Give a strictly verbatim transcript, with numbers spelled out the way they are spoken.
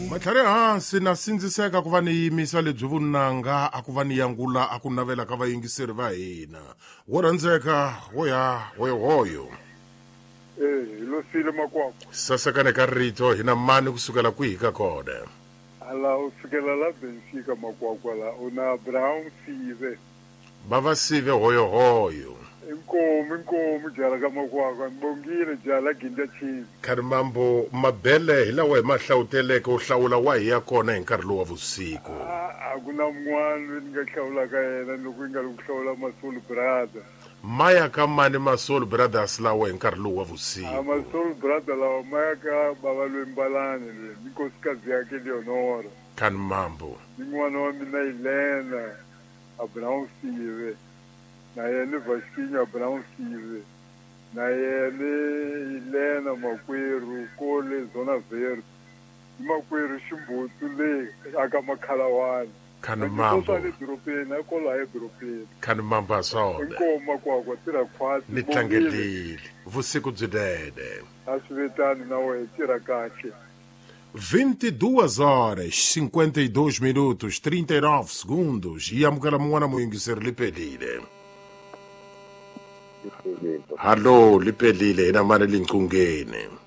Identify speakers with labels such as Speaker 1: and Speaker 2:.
Speaker 1: Matlhari hansi na sindziseka ku va ni yimisa lebyi vunanga a ku va ni yangula a ku navela ka vayingiseri va hina. Wo rhandzeka wo ya hoyohoyo.
Speaker 2: Eh, hi losile makwakwa.
Speaker 1: Sasekane ka rito hina mani kusukela kwihi ka kona?
Speaker 2: Ala u sukela la Benfica makwakwa la u na Abraham Sive.
Speaker 1: Bava Sive hoyohoyo.
Speaker 2: Inkomu inkomu jala ka makwakwa ngibongile jala ginda chini.
Speaker 1: Kharimambo mabele hi lawa hi ma hlawuteleke u hlawula wa hi ya kona hi nkarhi lowu wa vusiku.
Speaker 2: A ku na mun'wana loyi ni nga hlawulaka yena loko yi nga ri ku hlawula Masol Brother.
Speaker 1: Maya ka mani Masol Brothers lawa hi nkarhi lowu wa vusiku?
Speaker 2: A Masol Brother lawa maya ka bava loyi Mbalani loyi ni nkosikazi yakhe Leonora.
Speaker 1: Kharimambo.
Speaker 2: Ni n'wana wa mina Elena Abraham Sive. Na yena Vasquinho Abraham Sive. Na yena Elena makwerhu kole Zona Verde. Makwerhu Ximbutu le aka Makhalawani.
Speaker 1: Kharimambo.
Speaker 2: Le dorobeni a kola edorobeni.
Speaker 1: Kharimambo swona.
Speaker 2: Inkomu makwakwa tirha khwatsi.
Speaker 1: Ni tlangelile vusiku byinene.
Speaker 2: A swi vitani na wena tirha kahle.
Speaker 1: vinte e duas horas, cinquenta e dois minutos, trinta e nove segundos. E amukela mun'wana muyingiseri liphelile. Hallo, liphelile hina mani linqungeni.